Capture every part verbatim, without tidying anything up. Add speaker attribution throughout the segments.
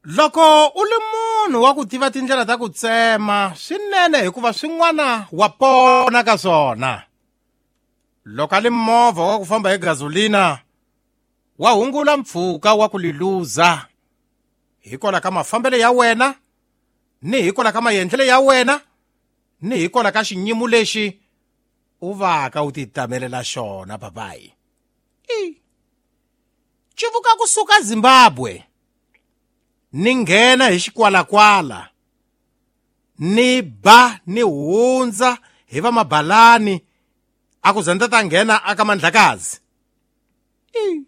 Speaker 1: Loko u li munhu wa ku tiva tindlela ta ku tsema swinene hikuva swin'wana wa pona ka swona. Loko a li movha wa ku famba hi gasolina wa hungula mpfhuka wa ku liluza hikwalaho ka mafambelo ya wena ni hikwalaho ka maendlelo ya wena ni hikwalaho ka xinyimu lexi u vaka u titamelela xona papayi. I civuka kusuka Zimbabwe ni nghena hi xikwalakwala ni ba ni hundza hi va mabalani a ku za ni ta nghena aka Mandlakazi. I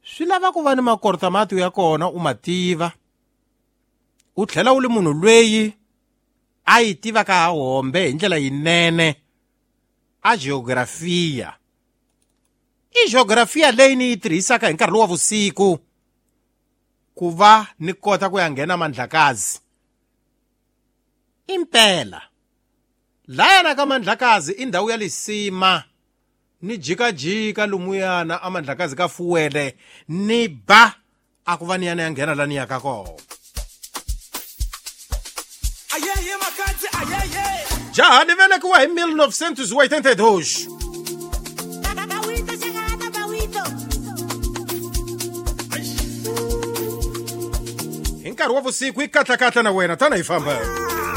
Speaker 1: swi lava ku va ni makortamati ya kona u ma tiva u tlhela u li munhu lweyi a yi tivaka hombe hi ndlela yinene a geografia. I geografia leyi ni yi tirhisaka hi nkarhi lowu wa vusiku ku va ni kota ku ya nghena Mandlakazi. Impela layana ka Mandlakazi i ndhawu ya lisima ni jikajika lumuyana a Mandlakazi ka fuwele ni ba a ku va ni yana ya nghena la ni yaka kona.
Speaker 2: Ayeye makadzi ayeye.
Speaker 1: Jaha ni velekiwa hi mil novecentos e oitenta e dois. Hi nkarhi wa vusiku i katlakatla na wena tana hi famba.